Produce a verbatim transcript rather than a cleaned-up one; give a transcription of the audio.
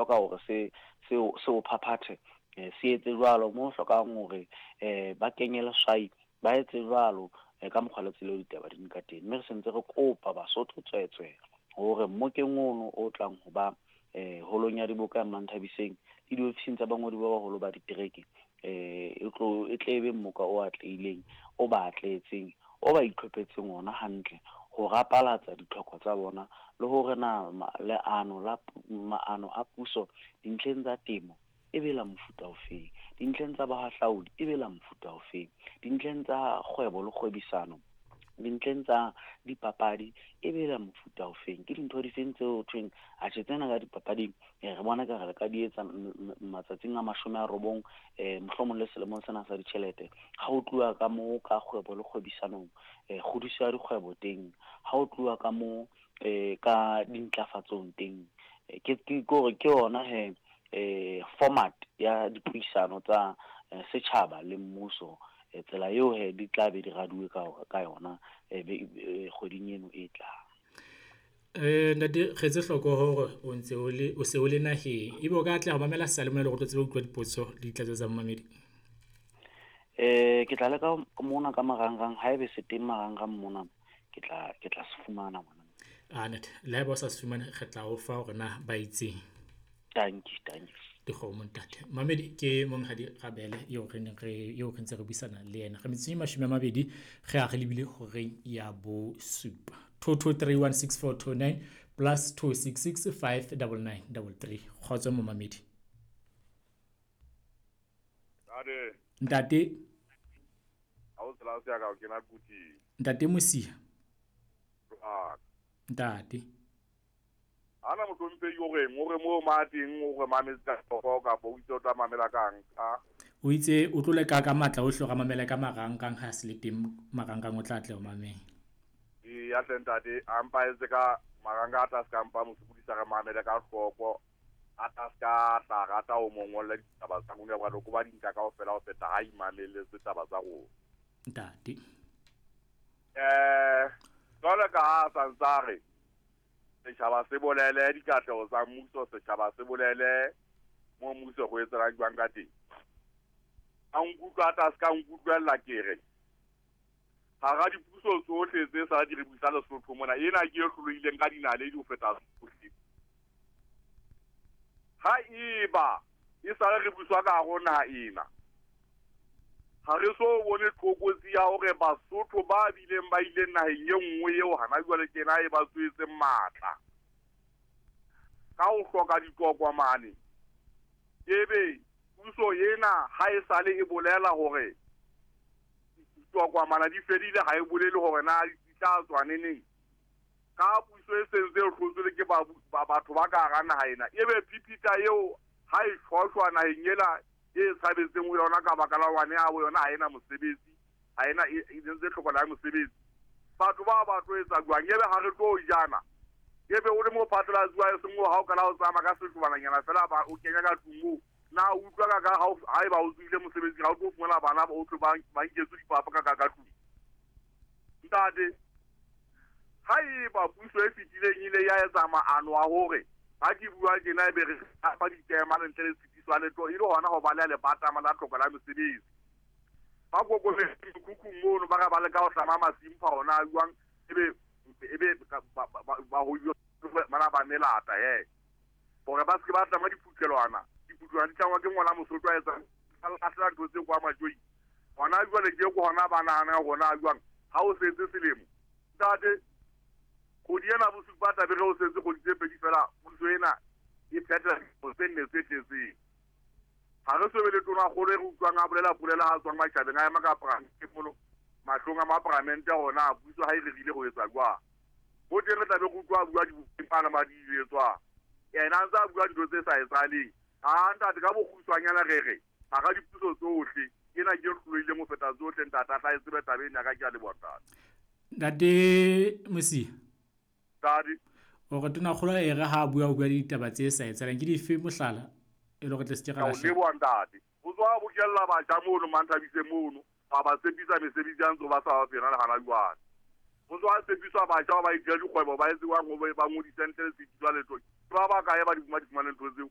Hloka hore se se se o phaphathe, se etse jwalo. Mo hlokang hore ba kenye leswai, ba etse jwalo ka mokgwa le tsela eo ditaba di ka teng. Mme re sentse re kopa Basotho tswetswe hore mmokeng ono o tlang ho ba holong ya diboka ya Manthabiseng le diofising tsa bangodi ba baholo ba ditereke, e tlo e tle be mmoka o atlehileng, o ba atlehetseng, o ba itlhophetseng ona hantle ho rapalatsa ditlhoko tsa bona, le hore na leano la maano a puso dintlheng tsa temo e be la mofuta ofeng, dintlheng tsa bohahlaudi e be la mofuta ofeng, dintlheng tsa kgwebo le kgwebisano, dintlheng tsa dipapadi e be la mofuta ofeng. Ke dintho difeng tseo thweng atjhe tsena ka dipapading re bona ka re re ka di etsa matsatsing a mashome a robong, mohlomong le selemong sena sa ditjhelete. Ha ho tluwa ka moo ka kgwebo le kgwebisanong, kgodiso ya dikgwebo teng, ha ho tluwa ka moo ka dintlafatsong teng, ke ke hore ke yona he format ya dipuisano tsa setjhaba le mmuso. Tsela eo he di tla be di raduwe ka ka yona kgweding eno e tlang. Eh ntate, re etse hloko hore o ntse o le o se o le naheng, ebe o ka atleha ho mamela seyalemoya le hore o tlo tsebe ho utlwa dipotso le ditlatsetso tsa momamedi? Eh ke tla leka mona ka marangrang, haebe se teng marangrang mona, ke tla ke tla se fumana ngwana. Ah ntate, le haeba o sa se fumane, re tla o fa hore na ba itseng. Dankie, dankie. Dikgomo ntate. Mamedi ke monghadi Rabele eo re neng re eo re ntse re buisana le yena. Re metsotso e mashome a mabedi re a re lebile horeng ya bosupa. two two three one six four two nine plus two six six five double nine double three. Kgotso momamedi. Ntate. Ntate. Ha o tsela se ya ka o kena kuting. Ntate Mosia. Ntate. Ana mohlomphehi o reng, o re mo ma teng, o re mametse ka hloko kapa o itse o tla mamela kang ka? O itse o tlo leka ka matla ohle hore a mamele ka marangrang, ha se le teng marangrang o tla atleha ho mamela. Eya hle ntate, a mpa etse ka marangrang a tla se ka mpa mo sokodisa, re mamele ka hloko, a tla se ka tla rata ho mo ngolla ditaba tsa rona, hobane o ba di nka kaofela ho feta ha imamelletse taba tsa rona. Ntate. Eh, jwalo ka ha a sa ntsa re setjhaba se bolele dikatleho tsa mmuso, setjhaba se bolele mo mmuso go etselang jwang ka teng. A nkutlwa a tla se ka nkutlwella ke re hara dipuso tsohle tse sa di re busa Lesotho mona, ena ke e hlolohileng ka dinaledi ho feta tsohle. Ha eba e sale re buswa ka hare ho naha ena, ha re so bone tlokotsi ya hore Basotho ba bileng ba ileng naheng e nngwe eo hana jwale tjena e ba tswetseng matla ka ho hloka ditokomane, ebe puso ena ha e sale e bolela hore ditokomane di fedile, ha e bolele hore na di tla tswa neneng. Ka puso e sentse e hlotswe le ke ba, ba batho ba ka hara naha ena, ebe phipita eo ha e shwashwa naheng ena e tshabetseng ho yona ka baka la hobane ya bo yona ha ena mosebetsi, ha ena e, e ntse tlhokolo ya mosebetsi. Batho ba ba tlo etsa jwang? Ebe ha re tlo jana, ebe o le mo phatlalatsi wa e seng ha o kala o tsamaya ka setlobananyana fela ba o kenya ka tlung moo. Na o utlwa ka ka ha o, ha eba o tswile mosebetsing, ha o tlo fumana bana ba o tlo ba, ba nketswe dipapa ka ka ka tlung. Ntate, ha eba puso e fetileng ile ya etsa maano a hore ha ke bua tjena ebe re fa ditema le ntle le tshitiso ya letho, e le hona ho baleha lebatama la tlhoko la mesebetsi. Ba kokobetse mekhukhung mono, ba re ba leka ho hlama masimpha hona a jwang, ebe, ebe ba, ba, ba, ba ho bana ba melata he. Hore ba se ke ba tlama diphuthelwana, diphuthelwana di tlangwa ke ngwana Mosotho a etsang, a lahlela ntho tse kwa majweng. Hona jwale ke ko hona ba nahanang hore na jwang, ha o setse selemo. Ntate, kgwedi ena bosupa tla be re o setse kgwedi tse pedi fela, puso ena e phethela dilemo tse nne tse tletseng. Ha re so be le tonakgolo e re utlwang a bolela polela ha tswang matjhabeng, a ema ka paramente mono, mahlong a maparamente hona puso ha e rerile ho etsa jwang. Ho teng re tla be re utlwa a bua dibukeng ana ba di etswang. Yena a ntse a bua dintho tse sa etsahaleng. Ha ntate, ka bokgutshwanyana re re hara dipuso tsohle, ena ke e hlolohileng ho feta tsohle, ntate, a tla e tsebe taba ena ka ke a leboha, ntate. Ntate Mosia. Ntate. O re tonakgolo e re ha a bua o bua ditaba tse sa etsahaleng, ke dife mohlala e le hore tle se ke ra Ka o lahleha? leboha, ntate. O tswa bokella batjha mono, Manthabise mono, ba ba tshepisa mesebetsi ya ntse ba sa ba fena le hana jwale. O tswa tshepiswa batjha ba ba itira dikgwebo, ba etse jwang hore ba ngodise ntle le tshitiso ya letho. Ke ba bakae ba di fumana ntho tseo?